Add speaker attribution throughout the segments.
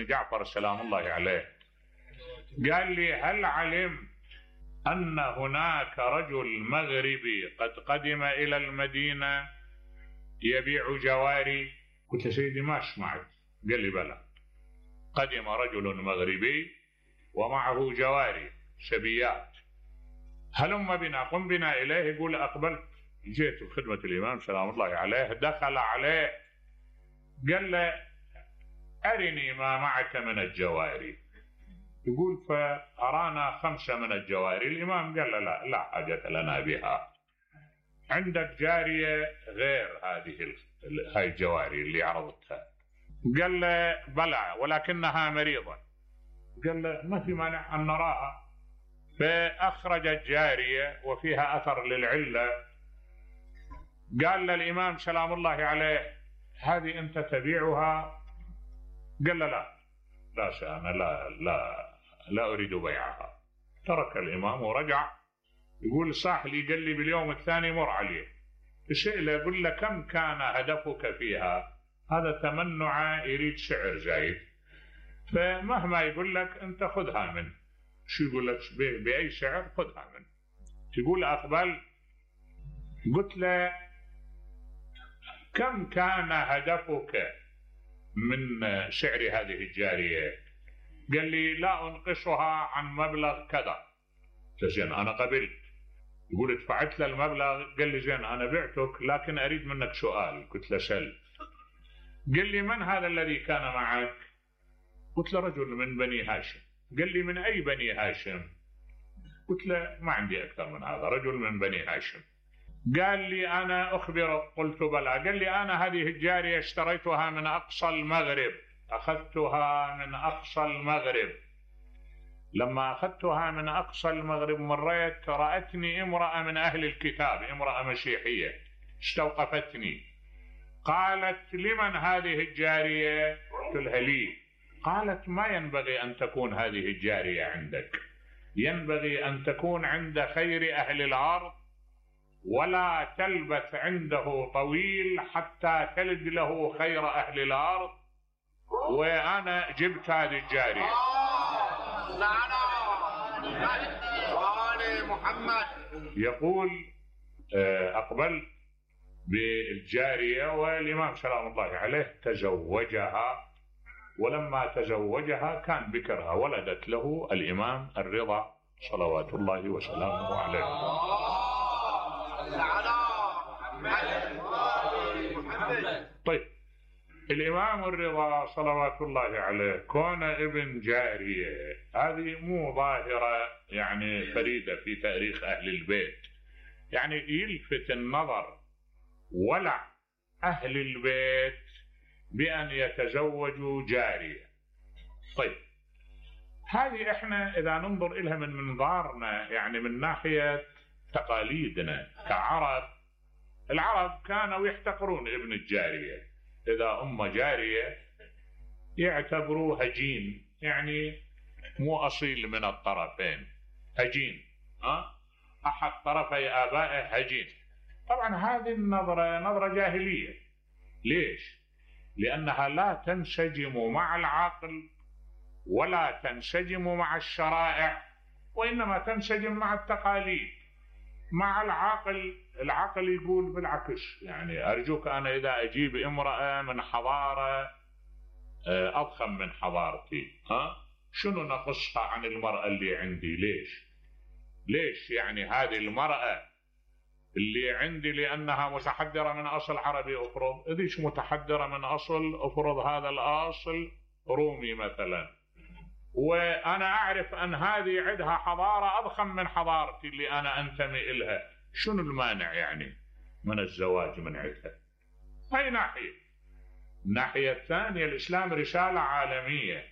Speaker 1: جعفر سلام الله عليه، قال لي: هل علمت أن هناك رجل مغربي قد قدم إلى المدينة يبيع جواري؟ قلت له: سيدي ما سمعت. قال لي: بلى، قدم رجل مغربي ومعه جواري شبيات، هلم بنا، قم بنا إليه. يقول: أقبلت، جئت بخدمة الإمام سلام الله عليه، دخل عليه قال له: أرني ما معك من الجواري. يقول: فأرانا 5 من الجواري. الإمام قال له: لا حاجة لنا بها، عندك جارية غير هاي الجواري اللي عرضتها؟ قال له: بلى، ولكنها مريضة. قال له: ما في مانع أن نراها. فأخرج الجارية وفيها أثر للعلة. قال للإمام سلام الله عليه: هذه أنت تبيعها؟ قال له: لا أنا لا أريد بيعها. ترك الإمام ورجع. يقول: صاح لي، قال لي باليوم الثاني مر عليه، سئله يقول له: كم كان هدفك فيها؟ هذا تمنع، يريد سعر زايد، فمهما يقول لك أنت خذها منه. شو يقول لك؟ بأي سعر خذها منه. يقول: أقبل. قلت له: كم كان هدفك من سعر هذه الجارية؟ قال لي: لا أنقصها عن مبلغ كذا. زين، أنا قبلت. يقول: دفعت له المبلغ. قال لي: زين، أنا بعتك لكن أريد منك سؤال. قلت له: سل. قال لي: من هذا الذي كان معك؟ قلت له: رجل من بني هاشم. قال لي: من أي بني هاشم؟ قلت له: ما عندي أكثر من هذا، رجل من بني هاشم. قال لي: أنا أخبرك. قلت: بلى. قال لي: أنا هذه الجارية اشتريتها من أقصى المغرب، أخذتها من أقصى المغرب. لما أخذتها من أقصى المغرب مريت، رأتني امرأة من أهل الكتاب، امرأة مسيحية، استوقفتني. قالت: لمن هذه الجارية؟ قلت لها: لي. قالت: ما ينبغي أن تكون هذه الجارية عندك، ينبغي أن تكون عند خير أهل الأرض، ولا تلبث عنده طويل حتى تلد له خير أهل الأرض. وأنا جبت هذه الجارية. يقول: أقبل بالجارية، والإمام سلام الله عليه تزوجها، ولما تزوجها كان بكرها، ولدت له الإمام الرضا صلوات الله وسلامه عليه. طيب، الإمام الرضا صلوات الله عليه كون ابن جارية، هذه مو ظاهرة يعني فريدة في تاريخ أهل البيت، يعني يلفت النظر ولع أهل البيت بأن يتزوجوا جارية. طيب، هذه احنا إذا ننظر إلها من منظارنا، يعني من ناحية تقاليدنا كعرب، العرب كانوا يحتقرون ابن الجارية. إذا جارية يعتبروه هجين، يعني مو أصيل من الطرفين، هجين، أحد طرفي آبائه هجين. طبعا هذه النظرة نظرة جاهلية. ليش؟ لأنها لا تنسجم مع العقل ولا تنسجم مع الشرائع، وإنما تنسجم مع التقاليد. مع العقل يقول بالعكس، يعني أرجوك أنا إذا أجيب امرأة من حضارة أضخم من حضارتي، شنو نقصها عن المرأة اللي عندي؟ ليش يعني هذه المرأة اللي عندي لأنها متحدرة من أصل عربي أفرض، إذيش متحدرة من أصل أفرض هذا الأصل رومي مثلا، وأنا أعرف أن هذه عندها حضارة أضخم من حضارتي اللي أنا أنتمي إلها، شنو المانع يعني من الزواج من عندها؟ هاي ناحية. الناحية الثانية، الإسلام رسالة عالمية،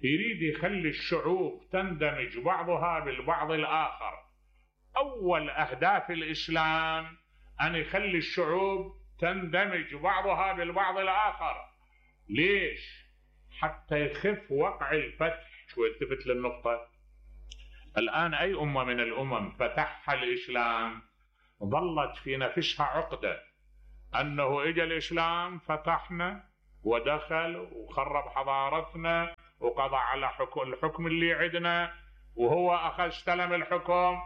Speaker 1: يريد يخلي الشعوب تندمج بعضها بالبعض الآخر. أول أهداف الإسلام أن يخلي الشعوب تندمج بعضها بالبعض الآخر. ليش؟ حتى يخف وقع الفتح. شو التفت للنقطة؟ الآن أي أمة من الأمم فتحها الإسلام ظلت في نفسها عقدة أنه إجا الإسلام فتحنا ودخل وخرب حضارتنا وقضى على الحكم اللي عندنا وهو استلم الحكم.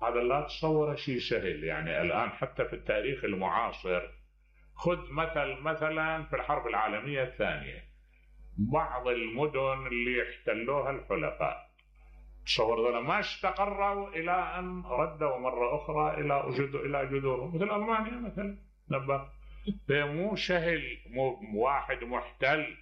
Speaker 1: هذا لا تصور شيء سهل. يعني الآن حتى في التاريخ المعاصر، خذ مثلا في الحرب العالمية الثانية، بعض المدن اللي احتلوها الحلفاء، تصور ذولا ما استقروا إلى أن ردوا مرة أخرى إلى جذورهم، مثل ألمانيا مثلا. نبه مو سهل واحد محتل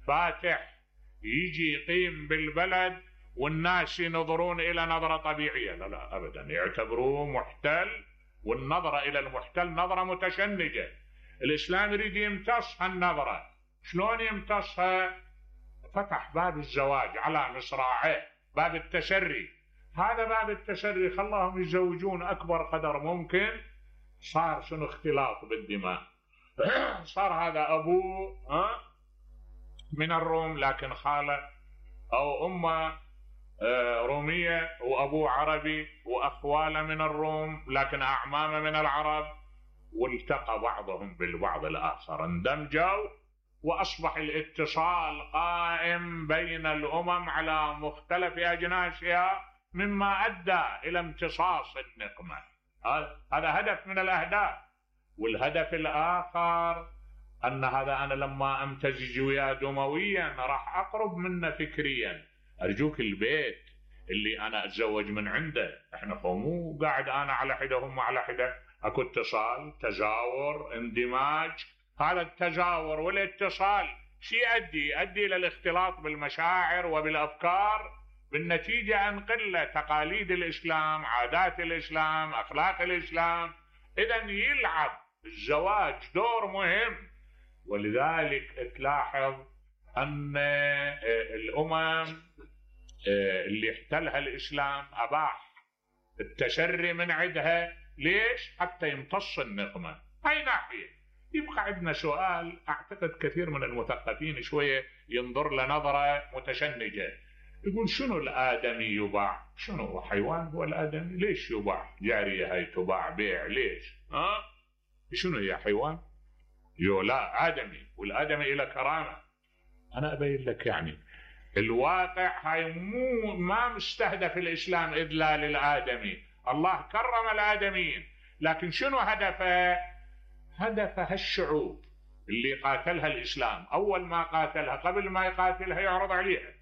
Speaker 1: فاتح يجي يقيم بالبلد والناس ينظرون إلى نظرة طبيعية. لا لا أبدا، يعتبروه محتل، والنظرة إلى المحتل نظرة متشنجة. الإسلام يريد يمتص هالنظرة. شلون يمتصها؟ فتح باب الزواج على مصراعيه، باب التسري. هذا باب التسري خلاهم يتزوجون أكبر قدر ممكن. صار شنو؟ اختلاط بالدماء. صار هذا أبوه من الروم لكن خاله أو أمه رومية، وأبوه عربي، وأخواله من الروم لكن أعمامه من العرب، والتقى بعضهم بالبعض الآخر، اندمجوا، وأصبح الاتصال قائم بين الأمم على مختلف أجناسها، مما أدى إلى امتصاص النقمة. هذا هدف من الأهداف. والهدف الآخر أن هذا أنا لما أمتزج وياه دمويا راح أقرب منه فكريا. أرجوك البيت اللي أنا أتزوج من عنده، إحنا مو قاعد أنا على حدة هم على حدة، أكو اتصال، تزاور، اندماج. هذا التزاور والاتصال شي يؤدي إلى الاختلاط بالمشاعر وبالأفكار، بالنتيجة أنقل تقاليد الإسلام، عادات الإسلام، أخلاق الإسلام. إذن يلعب الزواج دور مهم. ولذلك تلاحظ أن الأمم اللي احتلها الإسلام أباح التشري من عندها. ليش؟ حتى يمتص النقمة. هاي ناحية. يبقى عندنا سؤال أعتقد كثير من المثقفين شوية ينظر لنظرة متشنجة، يقول شنو الآدمي يباع؟ شنو هو حيوان هو الآدمي؟ ليش يباع؟ جارية هاي تباع بيع ليش؟ شنو هي حيوان؟ لا آدمي، والآدمي إلى كرامة. أنا أبين لك يعني الواقع هاي ما مستهدف الإسلام إذلال الآدمي. الله كرم الآدميين، لكن شنو هدفه؟ هدفها الشعوب اللي قاتلها الإسلام. أول ما قاتلها، قبل ما يقاتلها يعرض عليها،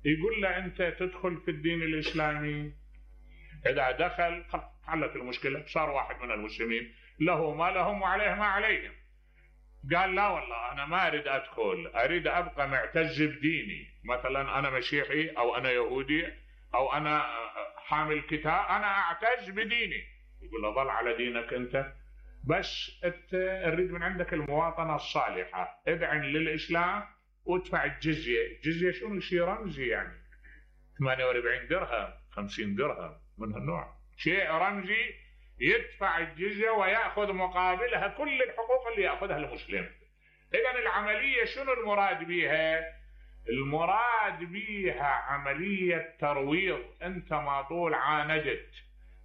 Speaker 1: يقول له أنت تدخل في الدين الإسلامي. إذا دخل حلت المشكلة، صار واحد من المسلمين له ما لهم وعليه ما عليهم. قال لا والله أنا ما أريد أدخل، أريد أبقى معتز بديني. مثلا أنا مسيحي أو أنا يهودي أو أنا حامل كتاب، أنا أعتز بديني. يقول له ظل على دينك أنت، بس أريد من عندك المواطنة الصالحة، ادعن للإسلام وادفع الجزية. الجزية شنو؟ شيء رمزي يعني 48 درهم 50 درهم من هالنوع، شيء رمزي. يدفع الجزية ويأخذ مقابلها كل الحقوق اللي يأخذها المسلم. إذن العملية شنو المراد بها؟ المراد بها عملية ترويض. أنت ما طول عاندت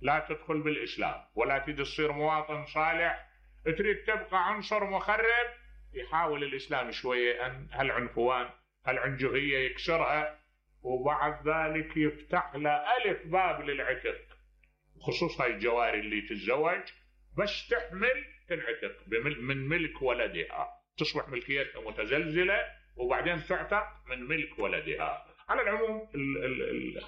Speaker 1: لا تدخل بالإسلام ولا تريد تصير مواطن صالح، تريد تبقى عنصر مخرب، يحاول الإسلام شوية أن هالعنفوان هالعنجهية يكسرها، وبعد ذلك يفتح له ألف باب للعتق. خصوصا الجواري اللي تتزوج بس تحمل تنعتق من ملك ولدها، تصبح ملكيتها متزلزلة وبعدين تعتق من ملك ولدها. على العموم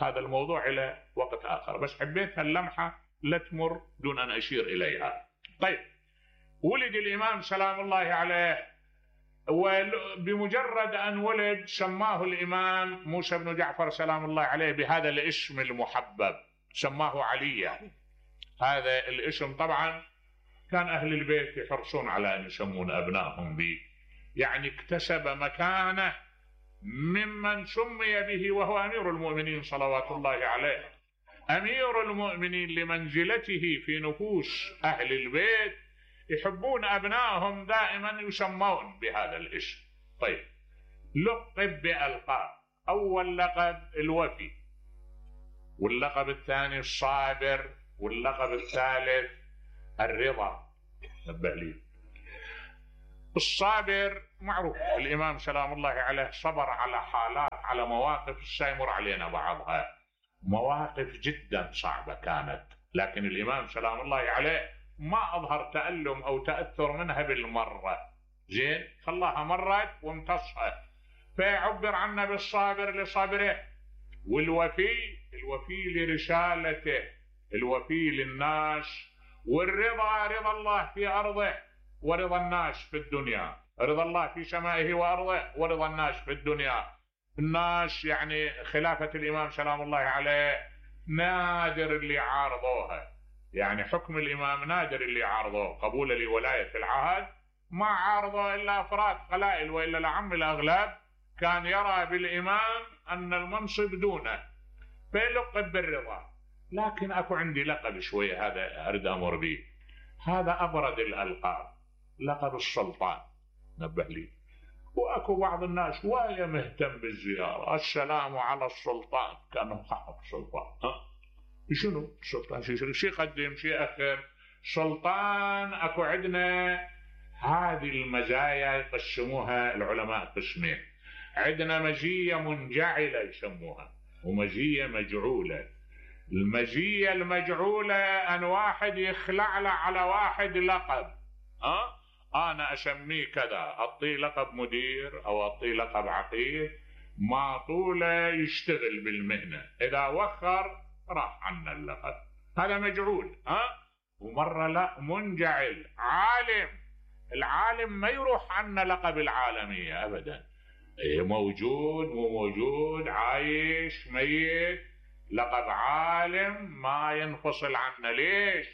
Speaker 1: هذا الموضوع إلى وقت آخر، بس حبيت هاللمحة لا تمر دون أن أشير إليها. طيب، ولد الإمام سلام الله عليه، وبمجرد أن ولد سماه الإمام موسى بن جعفر سلام الله عليه بهذا الاسم المحبب، سماه عليا. هذا الاسم طبعا كان أهل البيت يحرصون على أن يسمون أبنائهم به، يعني اكتسب مكانه ممن سمي به وهو أمير المؤمنين صلوات الله عليه. أمير المؤمنين لمنزلته في نفوس أهل البيت يحبون أبنائهم دائما يسمون بهذا الاسم. طيب، لقب بألقاب. أول لقب الوفي، واللقب الثاني الصابر، واللقب الثالث الرضا. نبه لي الصابر معروف، الإمام سلام الله عليه صبر على حالات، على مواقف سيمر علينا بعضها، مواقف جدا صعبة كانت، لكن الإمام سلام الله عليه ما أظهر تألم أو تأثر منها بالمرة، زين، خلاها مرت وامتصها، فيعبر عنه بالصابر لصبره، الوفي لرسالته، الوفي للناس، والرضا رضا الله في أرضه ورضا الناس في الدنيا، رضا الله في سمائه وأرضه ورضا الناس في الدنيا. الناس يعني خلافة الإمام سلام الله عليه نادر اللي عارضوها، يعني حكم الإمام نادر اللي عارضوه، قبول لولاية العهد ما عارضه إلا أفراد قلائل، وإلا العم الأغلب كان يرى بالإمام أن المنصب دونه، فيلقب بالرضا. لكن أكو عندي لقب شوية هذا أريد أمر به، هذا أبرد الألقاب، لقب السلطان، نبه لي. واكو بعض الناس ويا مهتم بالزياره، السلام على السلطان، كانه صاحب سلطان. شنو السلطان؟ شو يقدم؟ شو يأخر؟ سلطان اكو عندنا هذه المزايا يقسموها العلماء قسمين، عندنا مزيه منجعله يسموها، ومزيه مجعوله. المزيه المجعوله ان واحد يخلع له على واحد لقب، أنا أسميه كذا، أعطيه لقب مدير أو أعطيه لقب عقيد، ما طوله يشتغل بالمهنة، إذا وخر راح عنا اللقب، هذا مجعول. ومرة لا، منجعل، عالم، العالم ما يروح عنا لقب العالمية أبدا، موجود مو موجود، عايش ميت، لقب عالم ما ينفصل عنا. ليش؟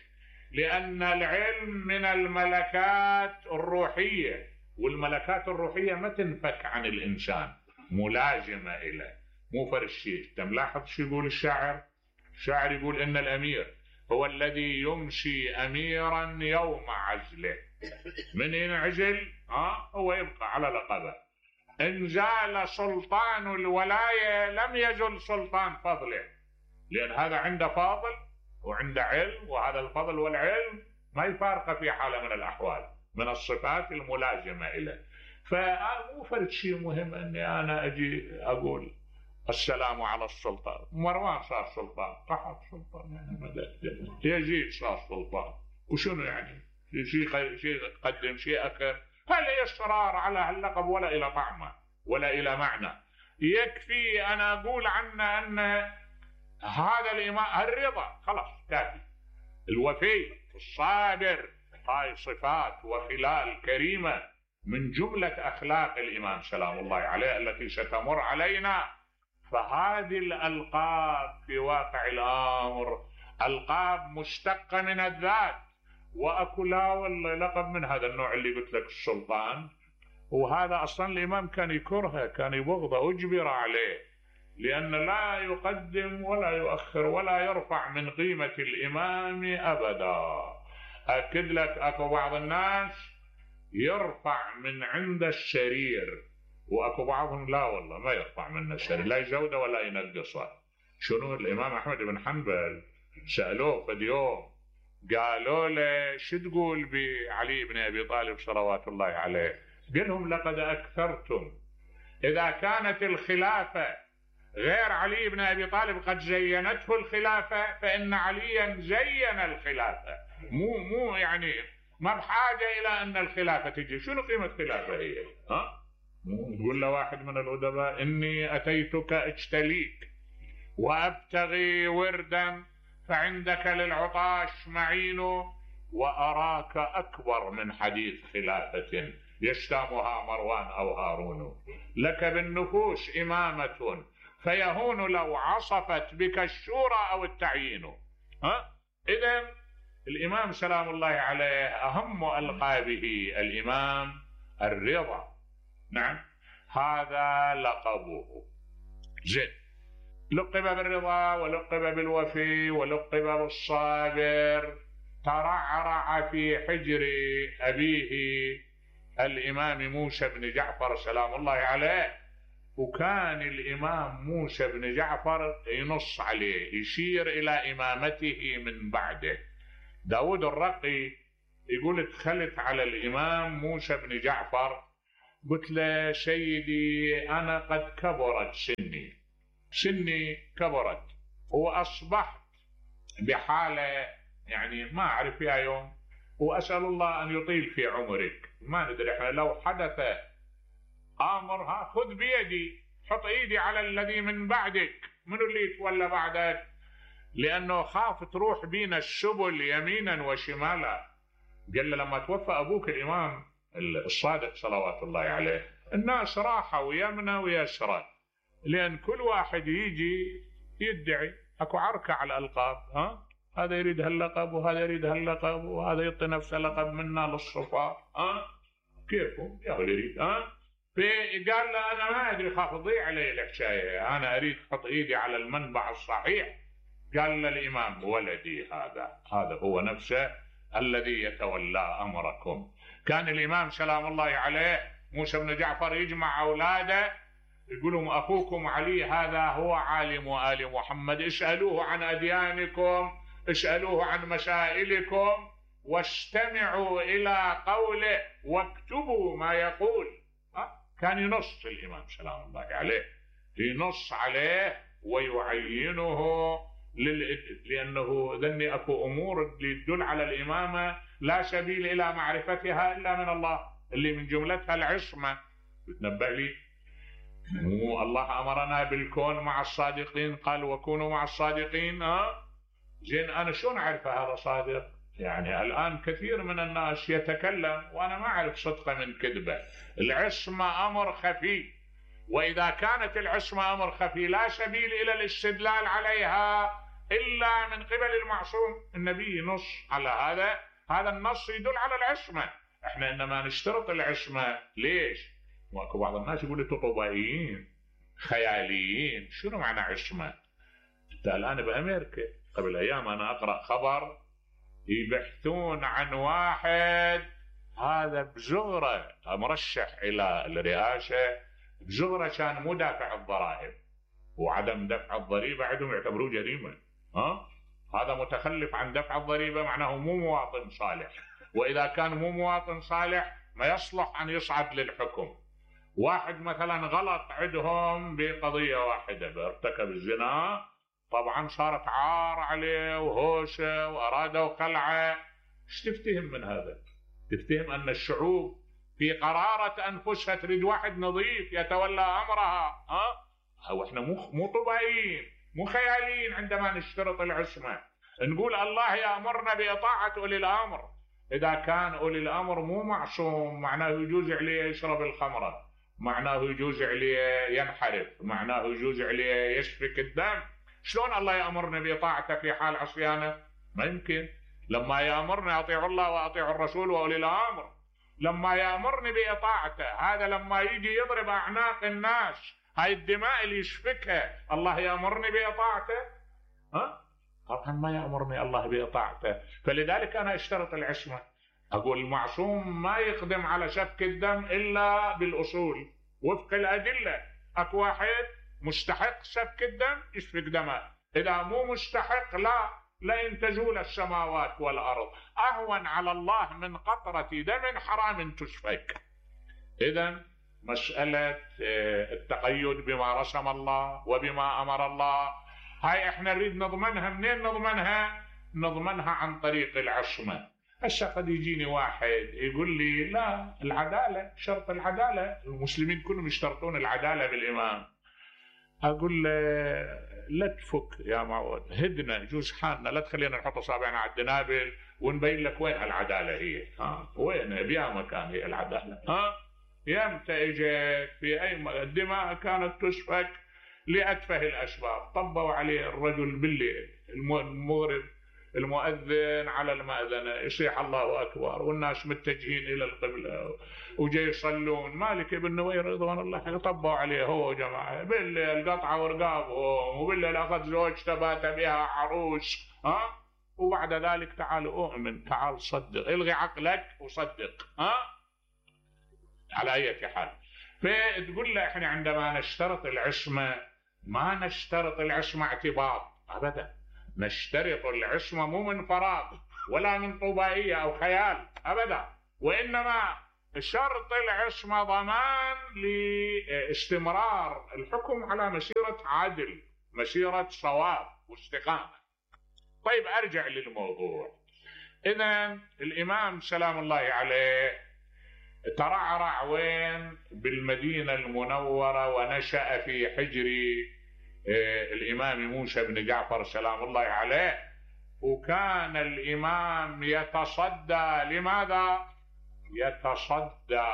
Speaker 1: لأن العلم من الملكات الروحية، والملكات الروحية ما تنفك عن الإنسان، ملازمة إليه، مو فرشي. أنت ملاحظ شو يقول الشاعر؟ الشاعر يقول إن الأمير هو الذي يمسي أميرا يوم عزله، من ينعزل هو يبقى على لقبه. إن زال سلطان الولاية لم يزل سلطان فضله، لأن هذا عنده فاضل وعنده علم، وهذا الفضل والعلم ما يفارقه في حالة من الأحوال، من الصفات الملازمة إليه. فمو فرد شيء مهم أني أنا أجي أقول السلام على السلطان. مروان صار سلطان، قحط سلطان، يعني مدى يزيد صار سلطان، وشنو يعني؟ شيء قدم شيء أخر، هل إصرار على اللقب ولا إلى طعمه ولا إلى معنى. يكفي أنا أقول عنه أن هذا الإمام الرضا خلاص كافي، الوفي، الصابر، هاي صفات وخلال كريمة من جملة أخلاق الإمام سلام الله عليه التي ستمر علينا. فهذه الألقاب في واقع الأمر ألقاب مشتقة من الذات، وأكو لا والله لقب من هذا النوع اللي قلت لك السلطان، وهذا أصلا الإمام كان يكرهه، كان يبغضه، أجبر عليه، لأن لا يقدم ولا يؤخر ولا يرفع من قيمة الإمام أبدا. أكد لك أكو بعض الناس يرفع من عند السرير، وأكو بعضهم لا والله ما يرفع من السرير، لا يزوده ولا ينقصه. شنو؟ الإمام أحمد بن حنبل سألوه في اليوم، قالوا له شو تقول بعلي بن أبي طالب صلوات الله عليه؟ قال لهم لقد أكثرتم، إذا كانت الخلافة غير علي بن أبي طالب قد زينته الخلافة، فإن عليا زين الخلافة، مو يعني ما بحاجة إلى أن الخلافة تجي. شنو قيمة خلافة هي؟ يقول له واحد من الأدباء إني أتيتك أجتليك وأبتغي وردا، فعندك للعطاش معين، وأراك أكبر من حديث خلافة يشتامها مروان أو هارون، لك بالنفوس إمامة فيهون لو عصفت بك الشورى أو التعيين. إذن الإمام سلام الله عليه أهم ألقابه الإمام الرضا، نعم هذا لقبه. زين، لقب بالرضا ولقب بالوفي ولقب بالصابر، ترعرع في حجر أبيه الإمام موسى بن جعفر سلام الله عليه، وكان الإمام موسى بن جعفر ينص عليه، يشير إلى إمامته من بعده. داود الرقي يقول دخلت على الإمام موسى بن جعفر، قلت له سيدي أنا قد كبرت سني كبرت، وأصبحت بحالة يعني ما أعرف فيها يوم، وأسأل الله أن يطيل في عمرك. ما ندري احنا لو حدث أمر خذ بيدي، حط إيدي على الذي من بعدك، منو اللي يتولى بعدك؟ لأنه خاف تروح بينا السبل يمينا وشمالا. قال له لما توفى أبوك الإمام الصادق صلوات الله عليه الناس راحوا يمنى ويسرى، لأن كل واحد يجي يدعي، أكو عركة على الألقاب، هذا يريد هاللقب وهذا يريد هاللقب وهذا يعطي نفسه لقب منا للصفار، كيفهم يا اللي يريد. فقال له أنا ما أدري، خاف تضيع علي الحكاية، أنا أريد أحط إيدي على المنبع الصحيح. قال له الإمام ولدي هذا هو نفسه الذي يتولى أمركم. كان الإمام سلام الله عليه موسى بن جعفر يجمع أولاده يقولون أخوكم علي هذا هو عالم آل محمد، اسألوه عن أديانكم، اسألوه عن مسائلكم، واستمعوا إلى قوله واكتبوا ما يقول. كان ينص الإمام سلام الله عليه، ينص عليه ويعينه لأنه ذني أكو أمور اللي تدل على الإمامة لا سبيل إلى معرفتها إلا من الله، اللي من جملتها العصمة. تنبه لي مو الله أمرنا بالكون مع الصادقين، قال وكونوا مع الصادقين. زين أنا شلون أعرف هذا صادق؟ يعني الآن كثير من الناس يتكلم وأنا ما أعرف صدقه من كذبه. العصمة أمر خفي، وإذا كانت العصمة أمر خفي لا سبيل إلى الاستدلال عليها إلا من قبل المعصوم. النبي نص على هذا النص يدل على العصمة. احنا إنما نشترط العصمة ليش؟ واكو بعض الناس يقولوا طبائيين خياليين. شنو معنى عصمة؟ انت الآن بأمريكا قبل أيام أنا أقرأ خبر يبحثون عن واحد هذا بزغرة مرشح إلى الرئاسة، بزغرة كان مو دافع الضرائب، وعدم دفع الضريبة عندهم يعتبروه جريمة. هذا متخلف عن دفع الضريبة معناه مو مواطن صالح، وإذا كان مو مواطن صالح ما يصلح أن يصعد للحكم. واحد مثلا غلط عندهم بقضية واحدة، ارتكب الزنا، طبعا صارت عار عليه وهوشة وأرادوا خلعه. ايش تفتهم من هذا؟ تفتهم أن الشعوب في قرارة أنفسها تريد واحد نظيف يتولى أمرها. واحنا مو طبيعيين مو خياليين عندما نشترط العصمة. نقول الله يأمرنا بإطاعة أولي الأمر. إذا كان أولي الأمر مو معصوم معناه يجوز عليه يشرب الخمرة، معناه يجوز عليه ينحرف، معناه يجوز عليه يسفك الدم. شلون الله يأمرنا بإطاعته في حال عصيانه؟ ما يمكن. لما يأمرنا أطيعوا الله وأطيعوا الرسول وأولي الأمر، لما يأمرني بإطاعته، هذا لما يجي يضرب أعناق الناس، هاي الدماء اللي يسفكها، الله يأمرني بإطاعته؟ طبعا ما يأمرني الله بإطاعته. فلذلك أنا اشترط العصمة. أقول المعصوم ما يقدم على سفك الدم إلا بالأصول وفق الأدلة. أكو واحد مستحق سفك الدم يسفك دمه، إذا مو مستحق لئن تزول السماوات والأرض أهون على الله من قطرة دم حرام تسفك. إذن مسألة التقيد بما رسم الله وبما أمر الله، هاي احنا نريد نضمنها. منين نضمنها؟ نضمنها عن طريق العصمة. هسه قد يجيني واحد يقول لي لا العدالة، شرط العدالة، المسلمين كلهم يشترطون العدالة بالإمام. أقول له لا تفك يا معود، هدنا جوز حالنا، لا تخلينا نحط أصابعنا على الدنابل ونبين لك وين العدالة هي. وين بيا مكان هي العدالة؟ يمتى اجت في أي الدماء كانت تسفك لأتفه الأسباب. طبوا عليه الرجل بالليل، المغرب المؤذن على المأذنة يصيح الله أكبر والناس متجهين إلى القبلة وجاي يصلون، مالك بن نوير رضوان الله طبوا عليه هو جماعة بالليل، قطعوا رقابهم، وبالليل أخذ زوجته بات بها عروس. وبعد ذلك تعال أؤمن، تعال صدق، الغي عقلك وصدق. على أي حال، فتقول له احنا عندما نشترط العصمة ما نشترط العصمة اعتباط أبدا، نشترط العصمة مو من فراغ، ولا من طوبائية أو خيال أبدا، وإنما شرط العصمة ضمان لاستمرار الحكم على مسيرة عدل، مسيرة صواب واستقامة. طيب أرجع للموضوع. إذن الإمام سلام الله عليه ترعرع وين؟ بالمدينة المنورة، ونشأ في حجر الإمام موسى بن جعفر سلام الله عليه. وكان الإمام يتصدى لماذا؟ يتصدى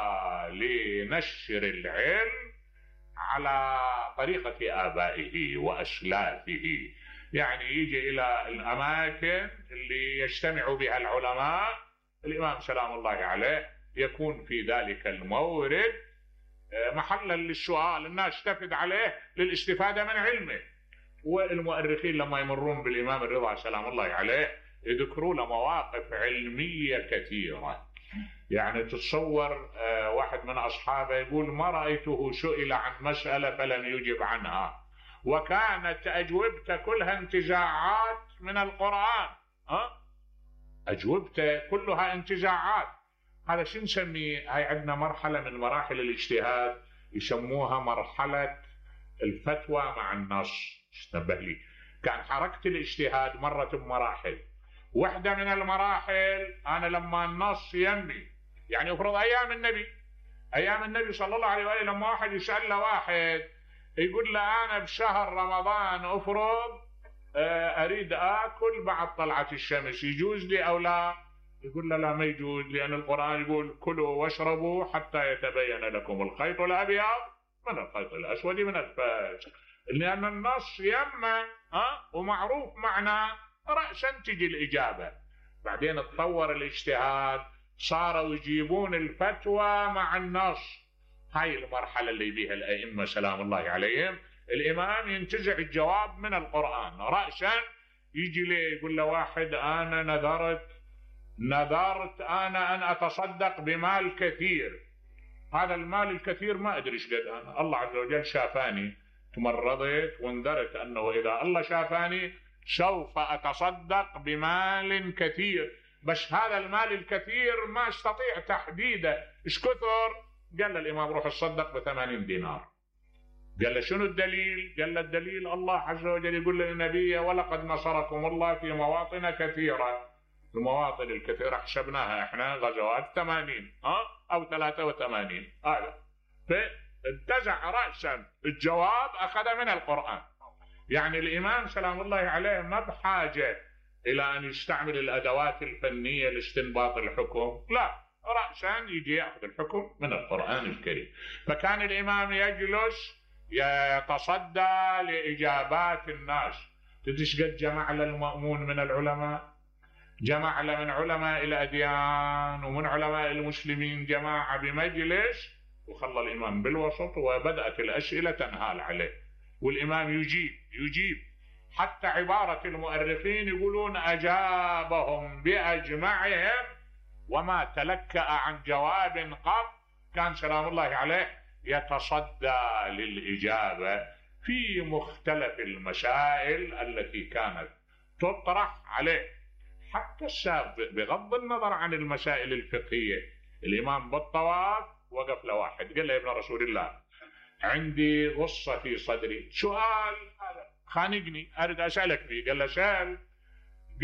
Speaker 1: لنشر العلم على طريقة آبائه وأسلافه، يعني يجي إلى الأماكن اللي يجتمع بها العلماء، الإمام سلام الله عليه يكون في ذلك المورد محلا للسؤال، الناس تفد عليه للاستفادة من علمه. والمؤرخين لما يمرون بالإمام الرضا سلام الله عليه يذكروا له مواقف علمية كثيرة. يعني تتصور واحد من أصحابه يقول ما رأيته سئل عن مسألة فلم يجب عنها، وكانت أجوبته كلها انتزاعات من القرآن، أجوبته كلها انتزاعات. هذا شو نسميه؟ هاي عندنا مرحلة من مراحل الاجتهاد يسموها مرحلة الفتوى مع النص. استنبه لي، كان حركة الاجتهاد مرت بمراحل. واحدة من المراحل أنا لما النص يمي، يعني افرض أيام النبي صلى الله عليه وآله، لما واحد يسأل له واحد يقول له أنا بشهر رمضان أفرض أريد آكل بعد طلعة الشمس، يجوز لي أو لا؟ يقول له لا ما يجوز، لأن القرآن يقول كلوا واشربوا حتى يتبين لكم الخيط الأبيض من الخيط الأسود من الفجر، لأن النص يمه ومعروف معناه، رأسا تجي الإجابة. بعدين تطور الاجتهاد، صاروا يجيبون الفتوى مع النص. هاي المرحلة اللي بيها الأئمة سلام الله عليهم، الإمام ينتزع الجواب من القرآن رأسا، يجي لي يقول له واحد أنا نذرت أنا أن أتصدق بمال كثير، هذا المال الكثير ما أدري ايش قد، أنا الله عز وجل شافاني، تمرضت وانذرت أنه إذا الله شافاني سوف أتصدق بمال كثير، بس هذا المال الكثير ما استطيع تحديده ايش كثر. قال الإمام روح تصدق ب80 دينار. قال له شنو الدليل؟ قال له الدليل الله عز وجل يقول للنبي ولقد نصركم الله في مواطن كثيرة. المواطن الكثيرة حسبناها احنا غزوات 80 أو 83 هذا. فانتزع رأسا الجواب أخذ من القرآن. يعني الإمام سلام الله عليه ما بحاجة إلى أن يستعمل الأدوات الفنية لاستنباط الحكم، لا، رأسا يجي يأخذ الحكم من القرآن الكريم. فكان الإمام يجلس يتصدى لإجابات الناس. تدري قد جمع للمأمون من العلماء؟ جمع من علماء الأديان ومن علماء المسلمين جماعة بمجلس، وخلى الإمام بالوسط، وبدأت الأسئلة تنهال عليه، والإمام يجيب حتى عبارة المؤرخين يقولون أجابهم بأجمعهم وما تلكأ عن جواب قط. كان سلام الله عليه يتصدى للإجابة في مختلف المسائل التي كانت تطرح عليه، حتى السابق بغض النظر عن المسائل الفقهية. الإمام بالطواف وقف لواحد قال له يا ابن رسول الله عندي غصة في صدري، سؤال هذا خانقني أريد أسألك فيه. قال له سأل.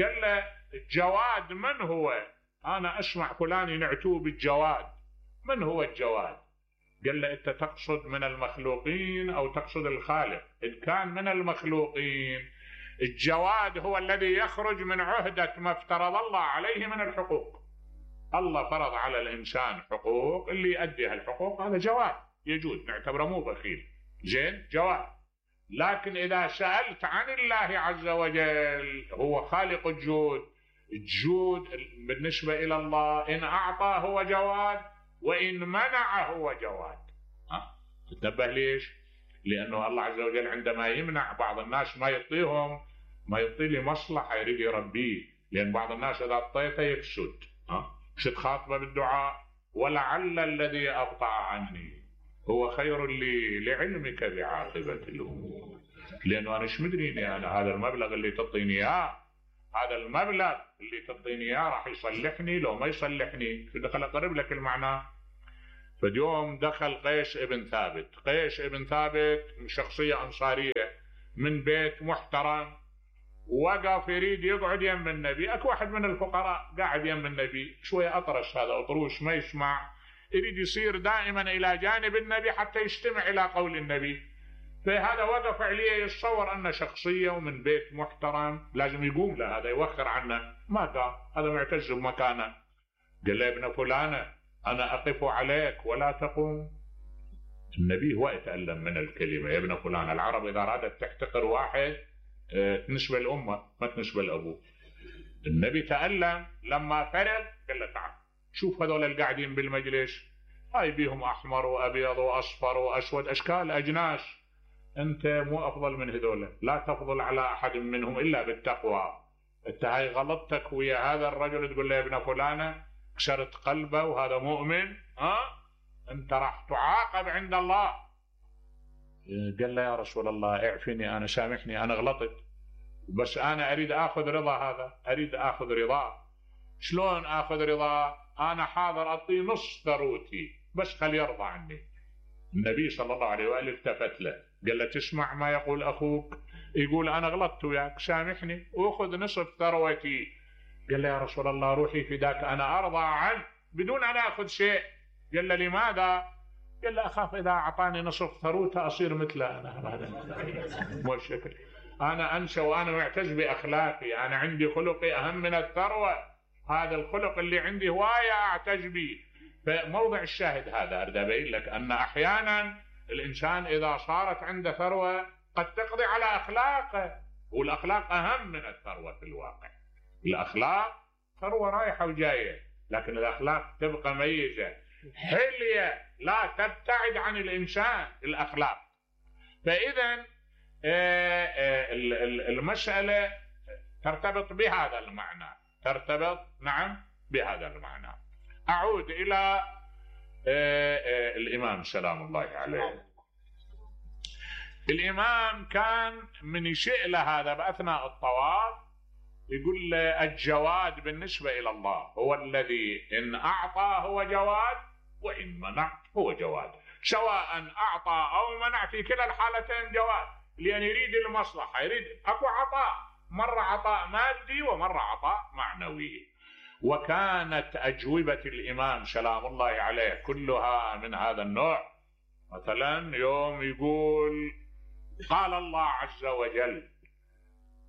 Speaker 1: قال له الجواد من هو؟ أنا أسمع فلان ينعتوه بالجواد، من هو الجواد؟ قال له أنت تقصد من المخلوقين أو تقصد الخالق؟ إن كان من المخلوقين الجواد هو الذي يخرج من عهدة ما افترض الله عليه من الحقوق. الله فرض على الإنسان حقوق، اللي يؤدي هالحقوق هذا جواد يجوز، نعتبره مو بخيل، زين جواد. لكن إذا سألت عن الله عز وجل هو خالق الجود، الجود بالنسبة إلى الله إن أعطى هو جواد وإن منع هو جواد. تنبه ليش؟ لأنه الله عز وجل عندما يمنع بعض الناس ما يعطيهم، ما يعطي لي مصلحة يريد يربيه، لأن بعض الناس إذا أعطيته يفسد. شد خاطبه بالدعاء ولعل الذي أبطأ عني هو خير لي لعلمك بعاقبة الأمور، لأنه أنا ايش مدريني أنا هذا المبلغ اللي تعطيني إياه هذا المبلغ اللي تعطيني اياه راح يصلحني لو ما يصلحني، دخل اقرب لك المعنى. فاليوم دخل قيس ابن ثابت. قيس ابن ثابت شخصية أنصارية من بيت محترم، وقف يريد يقعد يم النبي. اكو واحد من الفقراء قاعد يم النبي شوية أطرش، هذا أطروش ما يسمع، يريد يصير دائما إلى جانب النبي حتى يستمع إلى قول النبي. فهذا وقف عليه يتصور أنه شخصية ومن بيت محترم لازم يقوم له، هذا يوخر عنه، ما قام، هذا معتز بمكانه. قال له يا ابن فلانة أنا أقف عليك ولا تقوم. النبي هو يتألم من الكلمة يا ابن فلان. العرب إذا أرادت تحتقر واحد تنسبة الأمة ما تنسبة الأبو. النبي تألم لما فرغ قال له تعال شوف هذول القاعدين بالمجلس، هاي بيهم أحمر وأبيض وأصفر وأسود، أشكال أجناس، أنت مو أفضل من هذول، لا تفضل على أحد منهم إلا بالتقوى. أنت هاي غلطتك ويا هذا الرجل تقول له يا ابن فلانة، كسرت قلبه وهذا مؤمن، أنت راح تعاقب عند الله. قال له يا رسول الله اعفني، أنا سامحني، أنا غلطت، بس أنا أريد أخذ رضا هذا، أريد أخذ رضاه. شلون أخذ رضاه؟ أنا حاضر أعطيه نص ثروتي بس خلي يرضى عني. النبي صلى الله عليه وآله التفت له قال له تسمع ما يقول أخوك؟ يقول أنا غلطت وياك سامحني وأخذ نصف ثروتي. قال له يا رسول الله روحي فداك، أنا أرضى عنه بدون أن أخذ شيء. قال له لماذا؟ قال له أخاف إذا أعطاني نصف ثروته أصير مثله. أنا مو شكل، أنا أنسى وأنا معتز بأخلاقي، أنا عندي خلقي أهم من الثروة، هذا الخلق اللي عندي هواية أعتز به. فموضع الشاهد هذا أريد أبين لك أن أحيانا الإنسان إذا صارت عنده ثروة قد تقضي على أخلاقه، والأخلاق أهم من الثروة في الواقع. الأخلاق ثروة رايحة وجاية، لكن الأخلاق تبقى ميزة، حلية لا تبتعد عن الإنسان الأخلاق. فإذا المسألة ترتبط بهذا المعنى، ترتبط نعم بهذا المعنى. أعود إلى الإمام سلام الله عليه. الإمام كان من يشئ له هذا بأثناء الطواف يقول الجواد بالنسبة إلى الله هو الذي إن أعطى هو جواد وإن منع هو جواد، سواء أعطى أو منع في كلا الحالتين جواد، لأن يريد المصلحة، يريد أكو عطاء، مرة عطاء مادي ومرة عطاء معنوي. وكانت أجوبة الإمام سلام الله عليه كلها من هذا النوع. مثلا يوم يقول قال الله عز وجل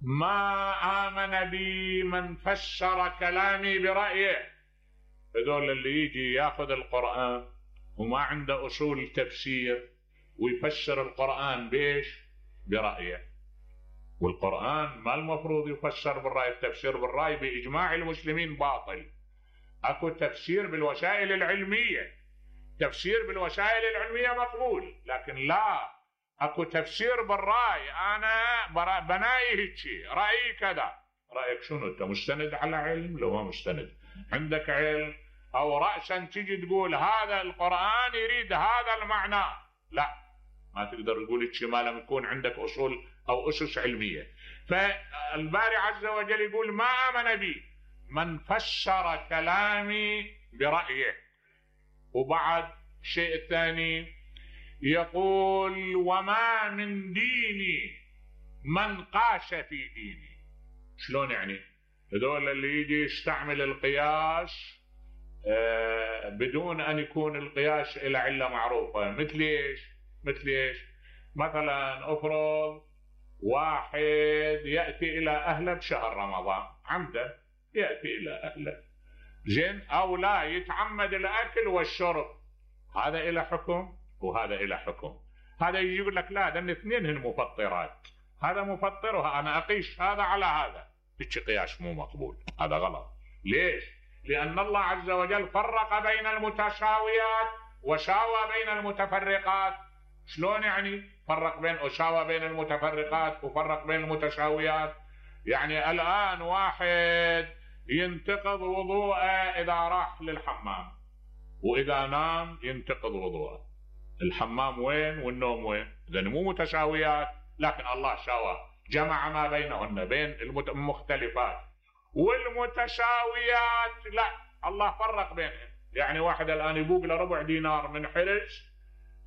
Speaker 1: ما آمن بي من فسر كلامي برأيه. هذول اللي يجي ياخذ القرآن وما عنده أصول تفسير ويفسر القرآن بيش؟ برأيه. والقرآن ما المفروض يفسر بالرأي، التفسير بالرأي بإجماع المسلمين باطل. أكو تفسير بالوسائل العلمية، تفسير بالوسائل العلمية مقبول، لكن لا أكو تفسير بالرأي. أنا بناي هيك رأيي كذا، رأيك شنو؟ أنت مستند على علم؟ لو ما مستند عندك علم أو رأسا تجي تقول هذا القرآن يريد هذا المعنى، لا ما تقدر تقول هيك ما لم يكون عندك أصول أو أسس علمية. فالباري عز وجل يقول ما آمن بي من فسر كلامي برأيه. وبعد شيء الثاني يقول وما من ديني من قاس في ديني. شلون يعني؟ هذول اللي يجي يستعمل القياس بدون أن يكون القياس إلى علة معروفة. مثل إيش؟ مثل إيش؟ مثلا أفرض واحد يأتي إلى أهله بشهر رمضان عمدا، يأتي إلى أهله زين، أو لا يتعمد الأكل والشرب، هذا إلى حكم وهذا إلى حكم. هذا يجي يقول لك لا ده الاثنين هن مفطرات، هذا مفطر أنا أقيس هذا على هذا، هيك قياس مو مقبول، هذا غلط. ليش؟ لأن الله عز وجل فرق بين المتساويات وساوى بين المتفرقات. شلون يعني فرق بين وساوى بين المتفرقات وفرق بين المتساويات؟ يعني الآن واحد ينتقض وضوءه إذا راح للحمام، وإذا نام ينتقض وضوءه. الحمام وين والنوم وين؟ إذن مو متساويات، لكن الله سوى جمع ما بينهن بين المختلفات. والمتساويات لا، الله فرق بينهم. يعني واحد الآن يبوق له ربع دينار من حرز،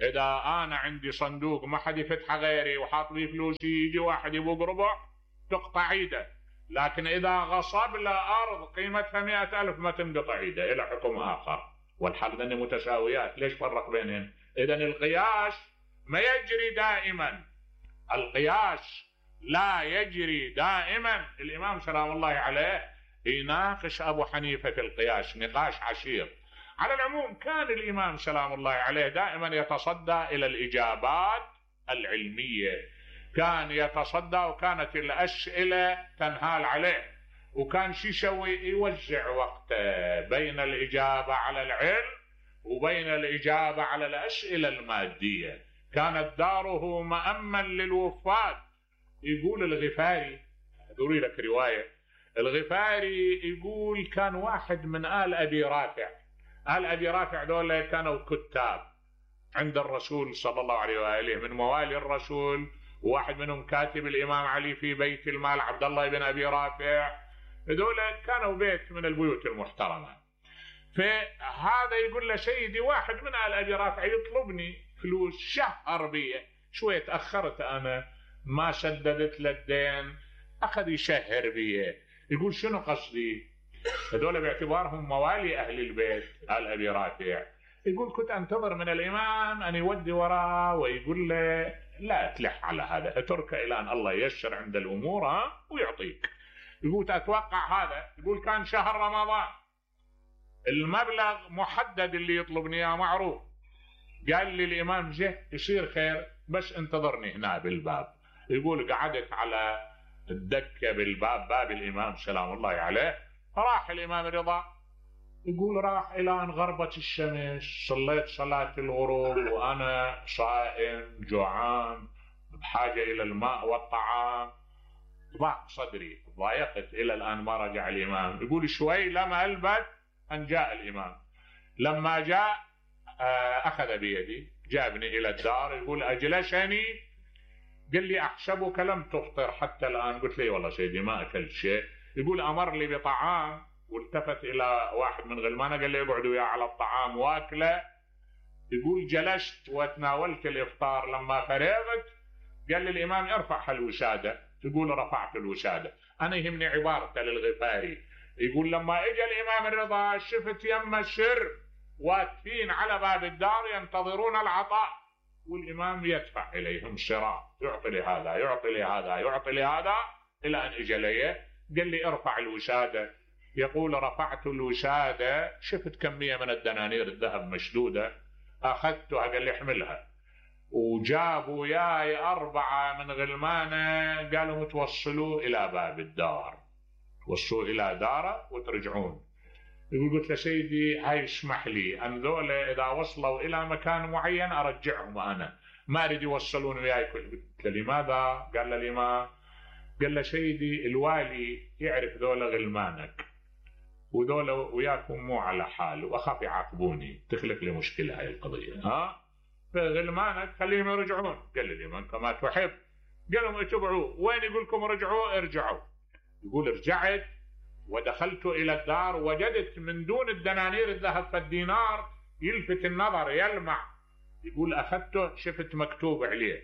Speaker 1: إذا أنا عندي صندوق ما حد يفتحه غيري وحاط لي فلوسي، يجي واحد يبوق ربع تقطع ايده. لكن إذا غصب له أرض قيمتها 100,000 ما تنقطع ايده، إلى حكم آخر. والحال ذني متساويات، ليش فرق بينهم؟ إذن القياس ما يجري دائما، القياس لا يجري دائما. الإمام سلام الله عليه يناقش أبو حنيفة في القياس نقاش عشير. على العموم كان الإمام سلام الله عليه دائما يتصدى إلى الإجابات العلمية، كان يتصدى، وكانت الأسئلة تنهال عليه، وكان شو يسوي؟ يوزع وقته بين الإجابة على العلم وبين الإجابة على الأسئلة المادية. كانت داره مأمًا للوفاد. يقول الغفاري، أذكر لك رواية، الغفاري يقول كان واحد من آل أبي رافع، آل أبي رافع دول كانوا كتاب عند الرسول صلى الله عليه وآله، من موالي الرسول، وواحد منهم كاتب الإمام علي في بيت المال عبد الله بن أبي رافع. هذول كانوا بيت من البيوت المحترمة. فهذا يقول له سيدي واحد من آل أبي رافع يطلبني فلوس، شهر بي، شوية تأخرت أنا ما سددت له الدين، أخذ يشهر بي. يقول شنو قصدي؟ هذول باعتبارهم موالي أهل البيت آل أبي رافع. يقول كنت أنتظر من الإمام أن يودي وراه ويقول له لا تلح على هذا، اترك إلى أن الله ييسر عند الأمور ويعطيك. يقول أتوقع هذا. يقول كان شهر رمضان، المبلغ محدد اللي يطلبني اياه معروف. قال لي الإمام جه يصير خير بس انتظرني هنا بالباب. يقول قعدت على الدكة بالباب، باب الإمام سلام الله عليه. راح الإمام رضا، يقول راح إلى أن غربت الشمس، صليت صلاة الغروب وأنا صائم جوعان بحاجة إلى الماء والطعام، ضاق صدري، ضايقت إلى الآن ما رجع الإمام. يقول شوي لما ألبث أن جاء الإمام. لما جاء أخذ بيدي جابني إلى الدار. يقول أجلسني، قال لي أحسبك لم تفطر حتى الآن. قلت لي والله سيدي ما أكلت شيء. يقول أمر لي بطعام، والتفت إلى واحد من غلمانه قال لي اقعدوا وياه على الطعام واكله. يقول جلست وتناولت الإفطار. لما فرغت قال لي الإمام ارفع الوسادة. يقول رفعت الوسادة. أنا يهمني عبارته للغفاري، يقول لما اجى الإمام الرضا شفت يم السر واقفين على باب الدار ينتظرون العطاء، والإمام يدفع إليهم سراء، يعطي لي هذا يعطي لي هذا يعطي لي هذا، إلى أن اجى لي قال لي ارفع الوسادة. يقول رفعت الوسادة، شفت كمية من الدنانير الذهب مشدودة، أخذتها قال لي احملها. وجابوا وياي 4 من غلمانه قالوا توصلوا إلى باب الدار، توصلوا إلى داره وترجعون. يقول قلت له سيدي هاي اسمح لي أن ذولا إذا وصلوا إلى مكان معين أرجعهم، أنا ما أريد يوصلون وياي. قلت له لماذا؟ قال له الإمام، قال له سيدي الوالي يعرف ذولا غلمانك وذولا وياكم مو على حال، وأخاف يعاقبوني تخلق لي مشكلة هاي القضية، فغلمانك خليهم يرجعون. قال لي الإمام كما تحب. قال لهم اتبعوا، وين يقول لكم رجعوا ارجعوا. يقول رجعت ودخلت إلى الدار، وجدت من دون الدنانير الذهب فالدينار يلفت النظر يلمع. يقول أخذته شفت مكتوب عليه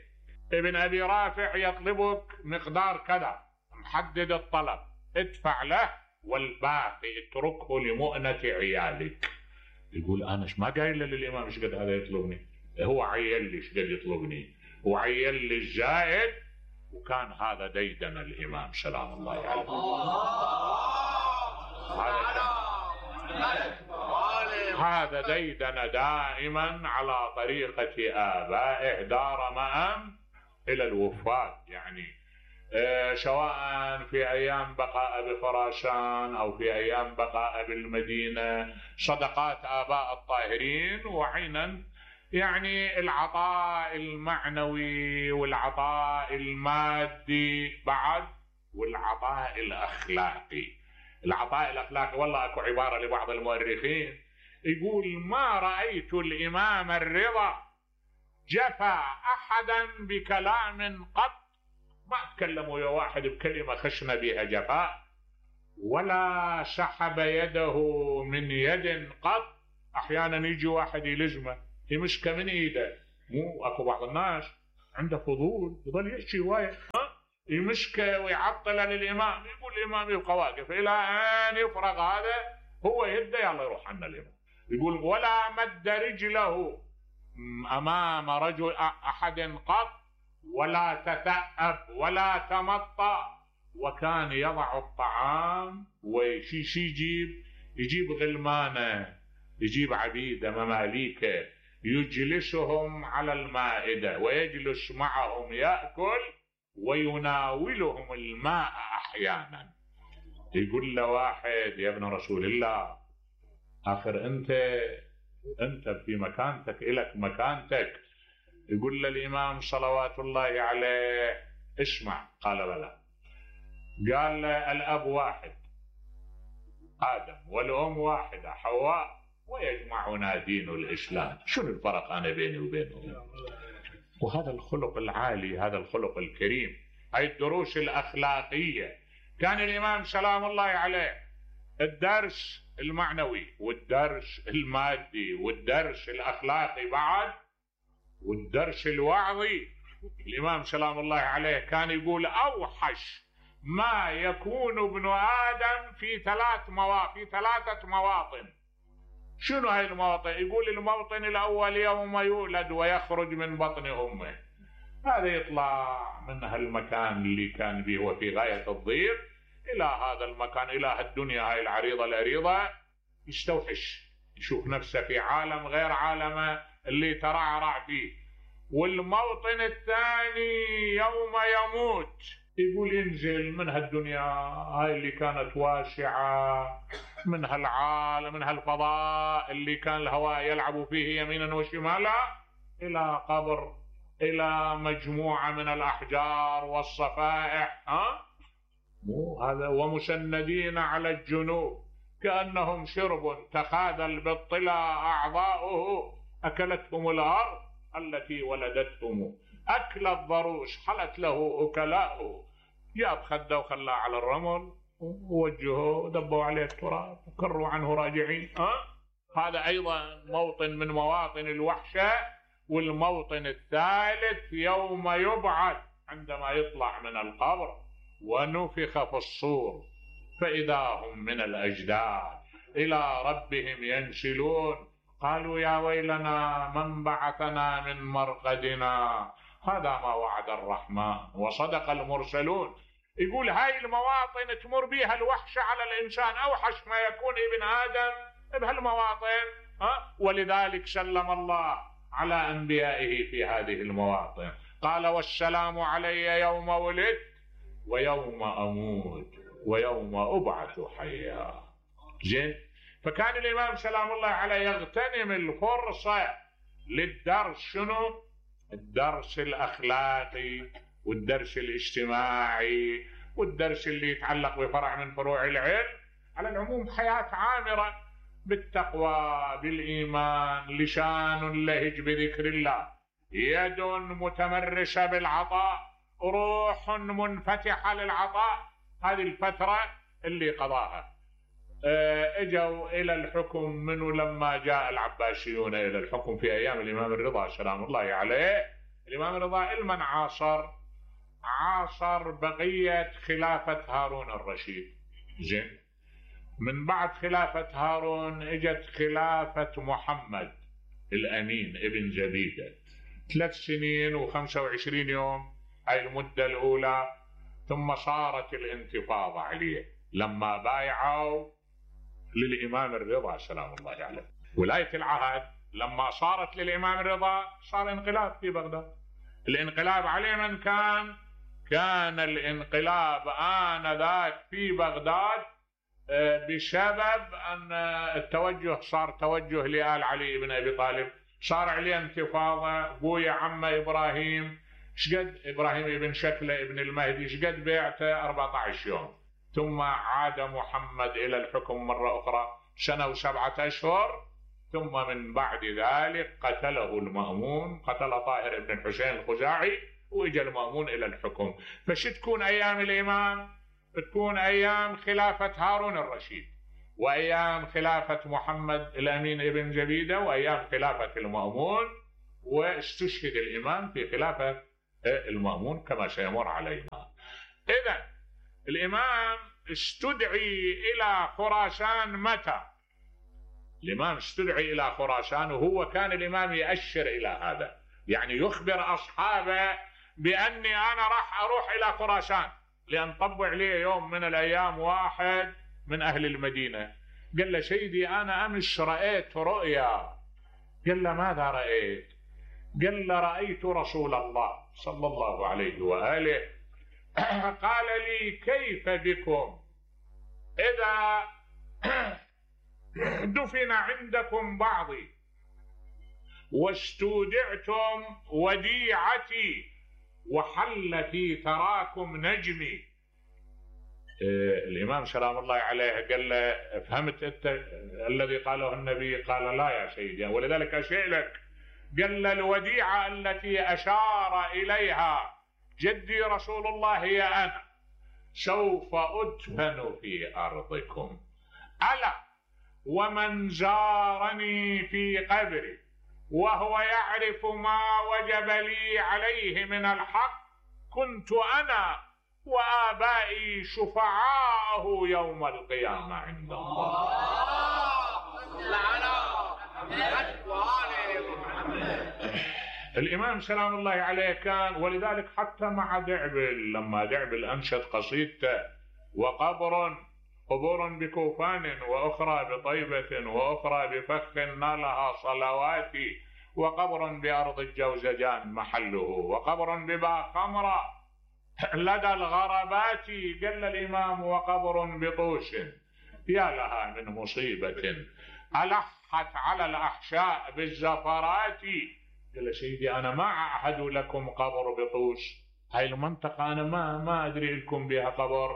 Speaker 1: ابن أبي رافع يطلبك مقدار كذا، محدد الطلب، ادفع له والباقي اتركه لمؤنة عيالك. يقول أنا ما قايل للإمام ايش قد هذا يطلبني، هو عيل لي ايش قد يطلبني، وعيل لي الزائد. وكان هذا ديدن الإمام سلام الله عليه. هذا ديدن دائما على طريقة آبائه، دار مأم إلى الوفاد. يعني سواء في أيام بقاء بخراسان أو في أيام بقاء بالمدينة، صدقات آباء الطاهرين، وعينا يعني العطاء المعنوي والعطاء المادي بعد، والعطاء الأخلاقي. العطاء الأخلاقي والله أكو عبارة لبعض المؤرخين يقول ما رأيت الإمام الرضا جفى أحدا بكلام قط، ما تكلموا يا واحد بكلمة خشنا بها جفاء، ولا سحب يده من يد قط. أحيانا يجي واحد يلزمه يمسكه من إيده، مو أكو بعض الناس عنده فضول يظل يحكي هواية، يمسكه ويعطله للإمام، يقول الإمام يبقى واقف إلى أن يفرغ هذا، هو يده يلا يروح عنا الإمام. يقول ولا مد رجله أمام رجل أحد قط، ولا تثأب ولا تمطى، وكان يضع الطعام ويشيش يجيب غلمانه، يجيب عبيده مماليكه، يجلسهم على المائده ويجلس معهم يأكل ويناولهم الماء أحيانا. يقول له واحد يا ابن رسول الله آخر أنت في مكانتك، إلك مكانتك. يقول له الإمام صلوات الله عليه اسمع. قال بلى. قال له الأب واحد آدم، والأم واحدة حواء، ويجمعنا دين الإسلام، شنو الفرق أنا بيني وبينهم؟ وهذا الخلق العالي، هذا الخلق الكريم، هاي الدروس الأخلاقية. كان الإمام سلام الله عليه الدرس المعنوي والدرس المادي والدرس الأخلاقي بعد والدرس الوعظي. الإمام سلام الله عليه كان يقول أوحش ما يكون ابن آدم في ثلاثة مواطن. شنو هاي المواطن؟ يقول الموطن الأول يوم يولد ويخرج من بطن أمه، هذا يطلع من هالمكان اللي كان به وفي غاية الضيق إلى هذا المكان، إلى هالدنيا هاي العريضة الأريضة، يستوحش، يشوف نفسه في عالم غير عالمه اللي ترعرع فيه. والموطن الثاني يوم يموت، يقول ينزل من هالدنيا هاي اللي كانت واسعة، من هالعالم، من هالفضاء اللي كان الهواء يلعب فيه يمينا وشمالا، إلى قبر، إلى مجموعة من الأحجار والصفائح، هذا ومسندين على الجنوب كأنهم شرب تخاذل بالطلا أعضاؤه، أكلتهم الأرض التي ولدتهم، أكل الضروس حلت له أكلاؤه، جاب خده وخلاه على الرمل ووجهه دبوا عليه التراب وكروا عنه راجعين. هذا أيضا موطن من مواطن الوحشة. والموطن الثالث يوم يبعث، عندما يطلع من القبر ونفخ في الصور فإذا هم من الأجداث إلى ربهم ينسلون، قالوا يا ويلنا من بعثنا من مرقدنا، هذا ما وعد الرحمن وصدق المرسلون. يقول هاي المواطن تمر بها الوحشة على الإنسان، أوحش ما يكون ابن آدم بهالمواطن، ولذلك سلم الله على أنبيائه في هذه المواطن، قال والسلام علي يوم ولدت ويوم أموت ويوم أبعث حيا. زين، فكان الإمام سلام الله عليه يغتنم الفرصة للدرس. شنو؟ الدرس الأخلاقي والدرس الاجتماعي والدرس اللي يتعلق بفرع من فروع العلم. على العموم حياة عامرة بالتقوى بالإيمان، لسان لهج بذكر الله، يد متمرسة بالعطاء، روح منفتحة للعطاء. هذه الفترة اللي قضاها. اجوا إلى الحكم منه لما جاء العباسيون إلى الحكم في أيام الإمام الرضا سلام الله عليه. الإمام الرضا المن عاصر بقية خلافة هارون الرشيد. زين، من بعد خلافة هارون اجت خلافة محمد الأمين ابن زبيدة، 3 سنين و25 يوم هاي المدة الأولى. ثم صارت الانتفاضة عليه لما بايعوا للإمام الرضا سلام الله عليه. ولاية العهد لما صارت للإمام الرضا صار انقلاب في بغداد. الانقلاب عليه من كان الانقلاب آنذاك في بغداد بسبب أن التوجه صار توجه لآل علي بن أبي طالب، صار عليه انتفاضة. بويا عمه إبراهيم، شقد إبراهيم ابن شكله ابن المهدي، شقد بيعته 14 يوم. ثم عاد محمد إلى الحكم مرة أخرى 1 و7 أشهر. ثم من بعد ذلك قتله المأمون، قتل طاهر بن الحسين الخزاعي، وإجا المأمون إلى الحكم. فش تكون أيام الإمام؟ تكون أيام خلافة هارون الرشيد، وأيام خلافة محمد الأمين ابن جبيدة، وأيام خلافة المأمون، واستشهد الإمام في خلافة المأمون كما سيمر علينا. إذن الإمام استدعي إلى خراسان متى؟ الإمام استدعي إلى خراسان وهو كان الإمام يأشر إلى هذا، يعني يخبر أصحابه بأني أنا راح أروح إلى خراسان، لأن طبع لي يوم من الأيام واحد من أهل المدينة قال له سيدي أنا أمس رأيت رؤيا. قال له ماذا رأيت؟ قال له رأيت رسول الله صلى الله عليه وآله قال لي كيف بكم إذا دفن عندكم بعضي واستودعتم وديعتي وحل في ثراكم نجمي. الإمام سلام الله عليه قال له فهمت أنت الذي قاله النبي؟ قال لا يا سيدي، ولذلك أسألك. قال له الوديعة التي أشار إليها جدي رسول الله هي أنا، سوف أدفن في أرضكم، ألا ومن زارني في قبري وهو يعرف ما وجب لي عليه من الحق كنت أنا وآبائي شفعاءه يوم القيامة عند الله. الإمام سلام الله عليه كان، ولذلك حتى مع دعبل لما دعبل أنشد قصيدته قبور بكوفان وأخرى بطيبة وأخرى بفخ نالها صلواتي وقبر بأرض الجوزجان محله وقبر ببا خمرة لدى الغربات. قال الإمام وقبر بطوش يا لها من مصيبة ألحت على الأحشاء بالزفرات. قال سيدي أنا ما أعهد لكم قبر بطوش، هاي المنطقة أنا ما أدري لكم بها قبر.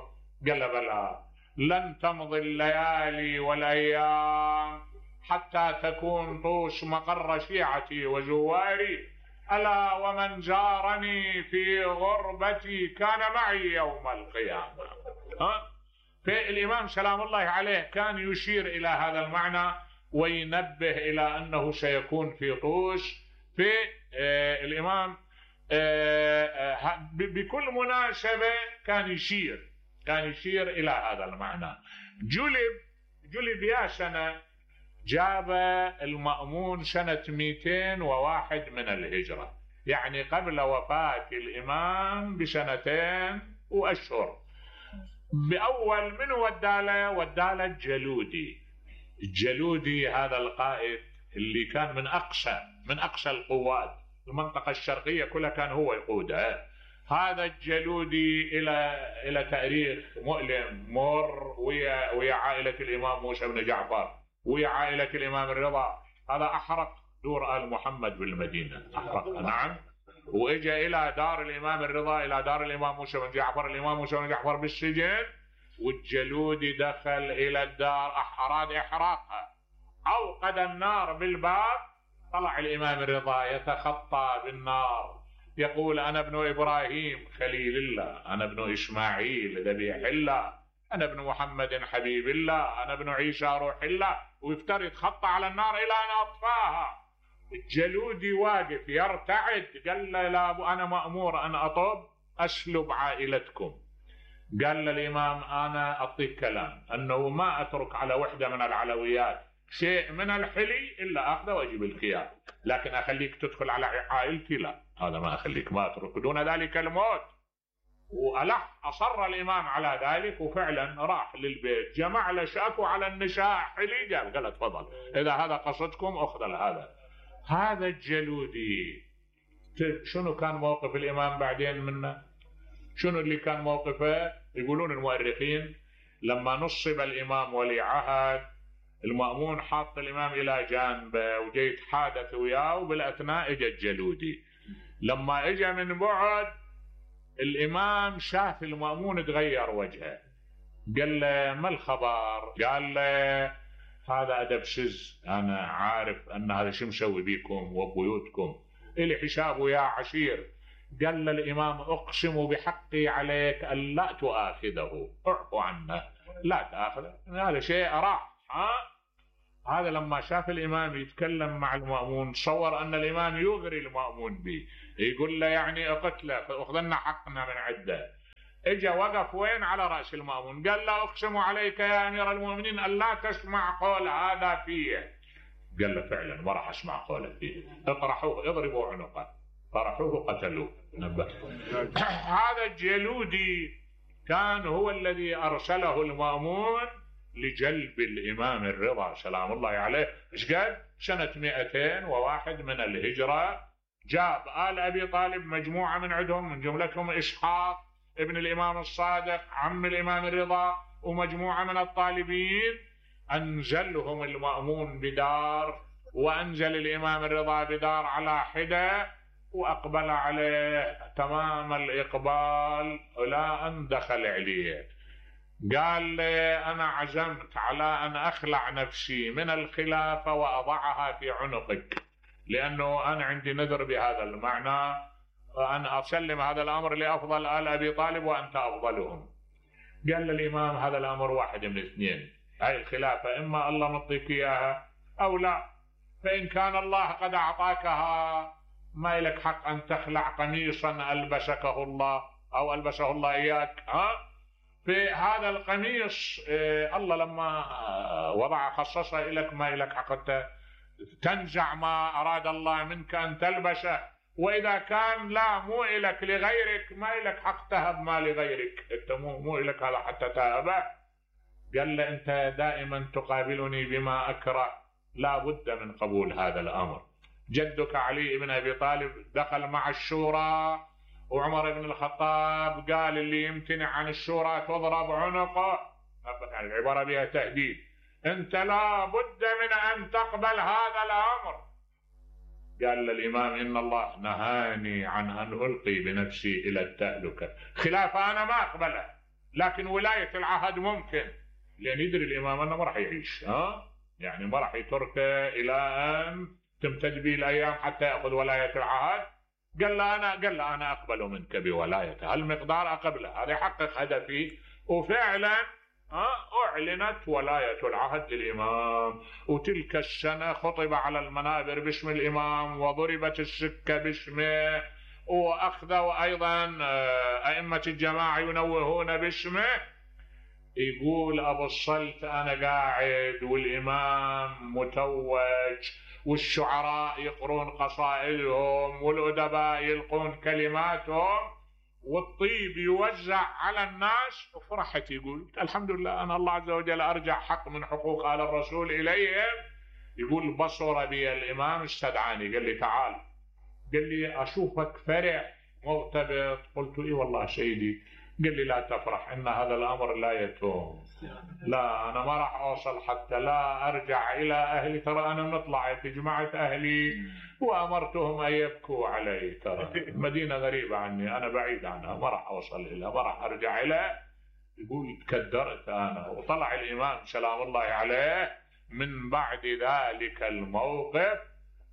Speaker 1: قال بلى لن تمضي الليالي والأيام حتى تكون طوش مقر شيعتي وزواري، ألا ومن زارني في غربتي كان معي يوم القيامة. فالإمام سلام الله عليه كان يشير إلى هذا المعنى وينبه إلى أنه سيكون في طوش. في الإمام بكل مناسبة كان يشير إلى هذا المعنى. جلب يا سنة جاب المأمون سنة 201 من الهجرة، يعني قبل وفاة الإمام بسنتين وأشهر. بأول من وداله الجلودي هذا القائد اللي كان من أقصى القوات، المنطقة الشرقية كلها كان هو يقودها. هذا الجلودي إلى تاريخ مؤلم مر ويا عائلة الإمام موسى بن جعفر ويا عائلة الإمام الرضا. هذا أحرق دور آل محمد بالمدينة، أحرق نعم، وإجا إلى دار الإمام الرضا، إلى دار الإمام موسى بن جعفر، الإمام موسى بن جعفر بالسجن، والجلودي دخل إلى الدار أراد إحراقها، أوقد النار بالباب. طلع الإمام الرضا يتخطى بالنار يقول أنا ابن إبراهيم خليل الله، أنا ابن إسماعيل ذبيح الله، أنا ابن محمد حبيب الله، أنا ابن عيسى روح الله، ويفترض خط على النار إلى أن أطفاها. الجلودي واقف يرتعد، قال له لا أنا مأمور أن أطب أسلب عائلتكم. قال للإمام أنا أعطيك كلام أنه ما أترك على وحدة من العلويات شيء من الحلي إلا أخذه وأجيب الخيار، لكن أخليك تدخل على عائلتي لا، هذا ما أخليك، ما أترك دون ذلك الموت. أصر الإمام على ذلك، وفعلا راح للبيت جمع له شاكو على النساء حلي، قال تفضل إذا هذا قصدكم أخذ هذا الجلودي. شنو كان موقف الإمام بعدين منه؟ شنو اللي كان موقفه؟ يقولون المؤرخين لما نصب الإمام ولي عهد، المأمون حاط الإمام إلى جانبه وجاي يتحادث وياه، وبالأثناء اجى الجلودي. لما اجى من بعد الإمام شاف المأمون تغير وجهه، قال له ما الخبر؟ قال له هذا أدب سز، أنا عارف أن هذا شو مسوي بيكم وبيوتكم، إلي حساب ويا عشير. قال للإمام أقسم بحقي عليك أن لا تؤاخذه، اعفو عنه لا تأخذه، هذا شيء راح. هذا لما شاف الإمام يتكلم مع المأمون صور أن الإمام يغري المأمون به، يقول له يعني اقتله فأخذنا حقنا من عده. اجا وقف وين؟ على رأس المأمون، قال له أقسم عليك يا أمير المؤمنين أن لا تسمع قول هذا فيه. قال له فعلا ما راح أسمع قوله فيه، اطرحوه اضربوا عنقه، طرحوه قتلوه. هذا الجلودي كان هو الذي أرسله المأمون لجلب الإمام الرضا سلام الله عليه. ايش قال؟ سنة 201 من الهجرة جاب آل أبي طالب مجموعة من عندهم، من جملتهم إسحاق ابن الإمام الصادق عم الإمام الرضا ومجموعة من الطالبين، أنزلهم المأمون بدار، وأنزل الإمام الرضا بدار على حدة، وأقبل عليه تمام الإقبال إلى أن دخل عليه. قال لي أنا عزمت على أن أخلع نفسي من الخلافة وأضعها في عنقك، لأنه أنا عندي نذر بهذا المعنى أن أسلم هذا الأمر لأفضل آل أبي طالب وأنت أفضلهم. قال للإمام هذا الأمر واحد من اثنين، هاي الخلافة إما الله مطيك إياها أو لا، فإن كان الله قد أعطاكها ما لك حق أن تخلع قميصا ألبسكه الله أو ألبسه الله إياك. في هذا القميص الله لما وضع خصصه لك ما لك حق تنزع ما أراد الله منك أن تلبسه، وإذا كان لا مو لك لغيرك ما لك حق تهب ما لغيرك، أنت مو لك هذا حتى تهبه. قال له أنت دائما تقابلني بما أكره، لا بد من قبول هذا الأمر. جدك علي بن أبي طالب دخل مع الشورى، وعمر بن الخطاب قال اللي يمتنع عن الشورى تضرب عنقه، يعني العبارة بها تهديد، أنت لا بد من أن تقبل هذا الأمر. قال للإمام إن الله نهاني عن أن ألقي بنفسي إلى التهلكة، خلافة أنا ما أقبله، لكن ولاية العهد ممكن، لأن يدري الإمام أنه ما راح يعيش، يعني ما راح يتركه إلى أن تمتد به الأيام حتى يأخذ ولاية العهد. قال له أنا أقبل منك بولايته، هالمقدار أقبله، هذا يحقق هدفي. وفعلا أعلنت ولاية العهد للإمام، وتلك السنة خطب على المنابر باسم الإمام، وضربت السكة باسمه، وأخذوا أيضا أئمة الجماعة ينوهون باسمه. يقول أبو الصلت أنا قاعد والإمام متوج، والشعراء يقرون قصائدهم، والأدباء يلقون كلماتهم، والطيب يوزع على الناس، وفرحت. يقول الحمد لله أنا الله عز وجل أرجع حق من حقوق آل الرسول إليهم. يقول بصر بي الإمام استدعاني، قال لي تعال، قال لي أشوفك فرح مرتبط. قلت إيه والله سيدي. قال لي لا تفرح، إن هذا الأمر لا يتوم، لا أنا ما راح أوصل حتى لا أرجع إلى أهلي، ترى أنا مطلع في جماعة أهلي وأمرتهم أن يبكوا علي، ترى المدينة غريبة عني، أنا بعيد عنها ما راح أوصل إليها، ما راح أرجع إليها. يقول تكدرت أنا. وطلع الإمام سلام الله عليه من بعد ذلك الموقف،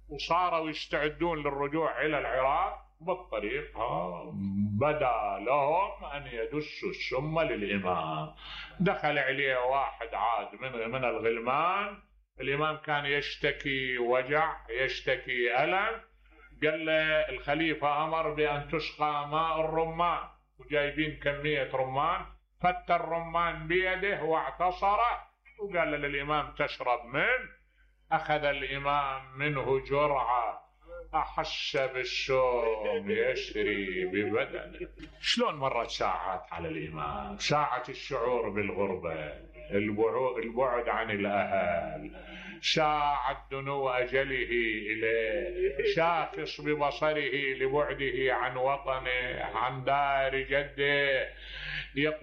Speaker 1: وصاروا يستعدون للرجوع إلى العراق. بالطريق بدا لهم أن يدسوا السم للإمام. دخل عليه واحد عاد من الغلمان، الإمام كان يشتكي وجع، يشتكي ألم. قال له الخليفة أمر بأن تسقى ماء الرمان، وجايبين كمية رمان، فت الرمان بيده واعتصره، وقال للإمام تشرب منه. أخذ الإمام منه جرعة، أحس بالشوم يسري ببدنه. شلون مرت ساعات على الإمام، ساعة الشعور بالغربة، البعد عن الأهل، ساعة دنو أجله إليه، شاخص ببصره لبعده عن وطنه، عن دار جده.